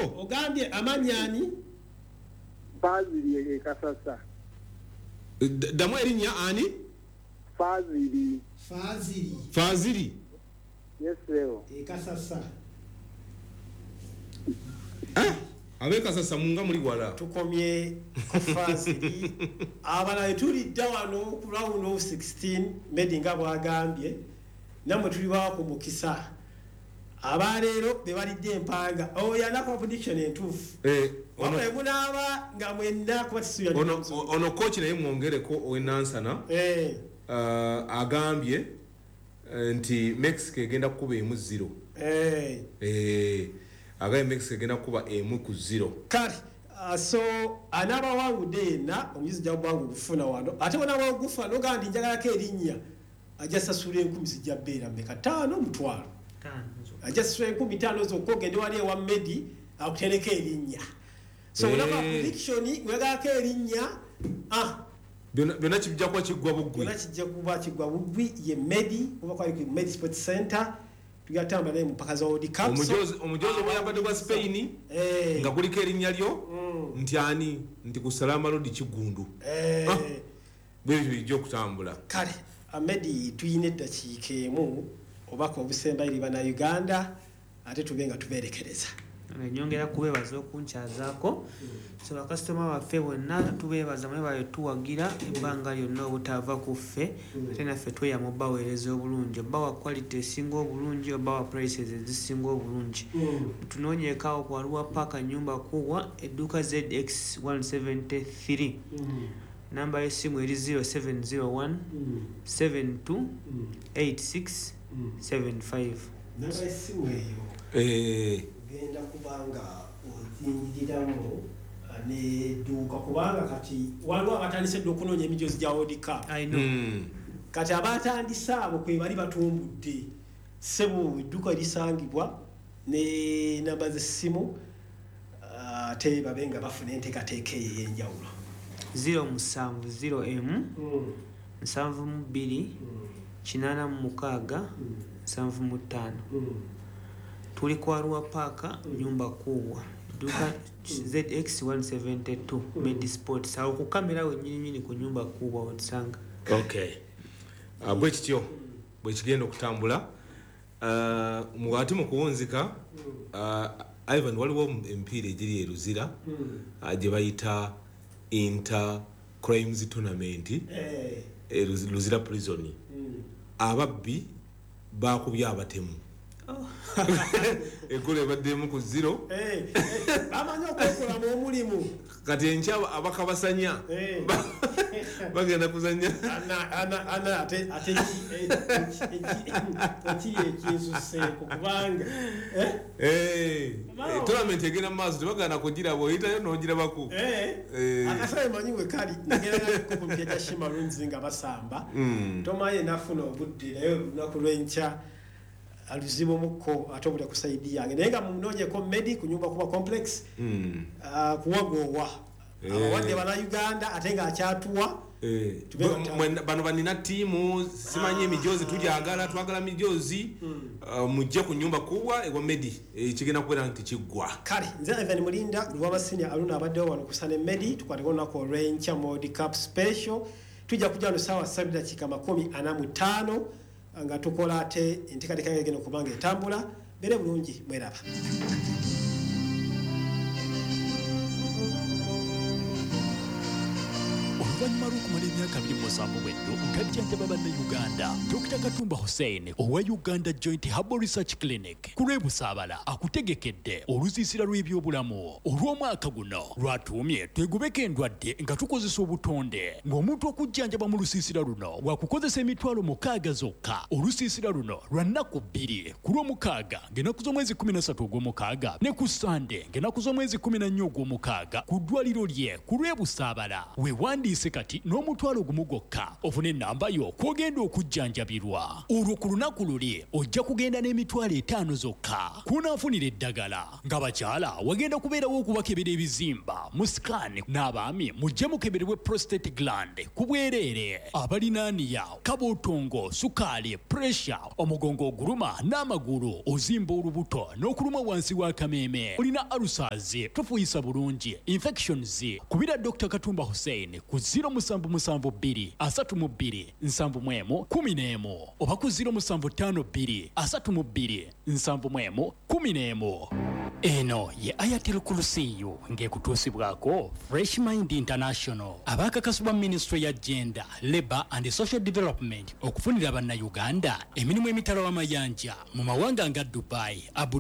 Sebo. Ogambye amannya ani? Fazili e Kasasa. Ddamu erinnya ani? Fazili. Fazili. Fazili. Yes, sebo. E Kasasa. Ab'e Kasasa munga muli wala. Tukomye ku Fazili. Abalala tulidda wano ku round of 16 Medi nga bw'agambye, nammwe tuli bawa ku mukisa. Abaleero be balidde empanga. Oyo anakuba prediction entuufu. Wabula munaaba nga mwenna kuba tisuubira Ono coach naye mwongereko ow'e Nansana. Agambye nti Mexico egenda kukuba 1-0. Agambye Mexico egenda kukuba 1-0. Kale so anaabawangudde yenna omujuzi ajja kuba nga ogufuna wano, ate bw'onaaba ogufuna n'ogamba nti njagalako erinnya, ajja sasula 1000 zijja bbeera mmeka? 5 mutwalo. Ajja sasula 5000 zokka ogende wali ewa Medi akutereko erinnya. So olaba prediction wegalako erinnya, Byonna kijja kuba kiggwa buggwi. Byonna kijja kuba kiggwa buggwi. Ye Medi kuba kwali ku Medi Sports Center, tugenda tutambula naye mu mpaka za World Cup. Omujozi ogwayambadde gwa Spain, nga kuliko erinnya lyo, nti ani? Nti ku Salama Road Kiggundu. Bwe bityo bijja okutambula. Kale Medi tuyina eddakiika emu obubaka obusembayo eri Bannayuganda, ate tube nga tubeerekereza. Nyongera kubeebaza okunkyazaako. So bakasitoma baffe bonna tubeebaza mwe tuwagira ebbanga lyonna obutava ku ffe, ate naffe tweyama obbaweereza obulungi, obbawa quality esinga obulungi, obbawa prices ezisinga obulungi. Tunoonyeeko awo ku Arua Park nnyumba Kuwa, edduuka ZX 173. Namba y'essimu eri 0701 72 86 75. Namba y'essimu eyo ogenda kubanga ozingiriramu n'edduuka, kubanga kati waliwo abatandise dda okunoonya emijoozi gya World Cup. I know. Kati abatandise abo kwe bali batumbudde. Ssebo edduuka lisangibwa ne namba z'essimu, ate babe nga bafuna enteekateeka eyo ey'enjawulo. 07 0 M 72 86 75. Tuli ku Arua Park nyumba Kuwa, edduuka ZX 172 Medi Sports. Awo ku kamera wennyini nnyini ku nyumba Kuwa otusanga. Okay. Bwe kityo bwe kigenda okutambula. Ate mu kuwunzika, Ivan, waliwo emipiira egiri e Luzira, gye bayita Inter Crimes Tournament, Luzira Prison. Ababbi bakubye abatemu. Eggolo ebaddemu ku 0. Bamanyi okwekolamu omulimu. Kati enkya abakabasanya bagenda kuzannya. Ana ate ekiri ekinsuseeko kubanga tournament egenda mu maaso, tebagaana kugiraba, oyitayo n'ogirabako. Akasabe manyi we kali nagerako ku mpya gya Shima Rooms nga basamba. Tomanyi nafuna obudde naye olunaku lw'enkya aluzibu mukko ate obudde ku side yange, naye nga munoonyeko Medi ku nyumba kuba complex, kuwagoowa abawadde Bannayuganda ate ng'akyatuwa. Bano banina ttiimu simanyi emijoozi tugyagala, twagala mijoozi, mujje ku nyumba Kuwa ewa Medi, kigenda kubeera nti kiggwa. Kale nze Ivan Mulinda Lwabasinya Aluna abaddewo wano ku Sane Medi, tukwateko olunaku olw'enkya mu World Cup special. Tujja kujja wano ssaawa 7:45 nga tukola ate enteekateeka egenda okuba nga etambula. Beere bulungi, mweraba. Oluvannyuma lw'okumala emyaka 27 bweddo ng'ajjanjaba Bannayuganda, Dr. Katumba Hussein owa Uganda Joint Herbal Research Clinic ku lw'e Busaabala akutegekedde olusiisira lw'ebyobulamu olw'omwaka guno lwatuumye twegobeko endwadde nga tukozesa obutonde. Ng'omuntu okujjanjaba mu lusiisira luno wakukozesa 60,000 zokka. Olusiisira luno lwa nnaku 2, ku Lwomukaaga ng'ennaku z'omwezi 13 ogw'omukaaga ne ku Sande ng'ennaku z'omwezi 14 ogw'omukaaga ku ddwaliro lye ku lw'e Busaabala. Weewandiise kati wansi n'omutwalo 1 gwokka ofune ennamba yo kw'ogenda okujjanjabirwa. Olwo ku lunaku luli ojja kugenda n'emitwalo 5 zokka kw'onaafunira eddagala. Nga bakyala wagenda kubeerawo okubakebera ebizimba mu scan, n'abaami mujje mukeberebwe prostate gland ku bwereere. Abalina hernia, kabuutungo, sukaali, pressure, omugongo oguluma n'amagulu, ozimba olubuto n'okuluma wansi w'akameeme, olina ulcers, tofuuyisa bulungi, infections, kubira Dr Katumba Hussein ku 0772 32 71 11 oba ku 0752 32 71 11. Eno ye Ayatul Kurusiyu ng'ekutuusibwako Fresh Mind International, abakakasibwa Ministry ya Gender, Labour and Social Development okufunira Bannayuganda emirimu emitala w'amayanja mu mawanga nga Dubai, Abu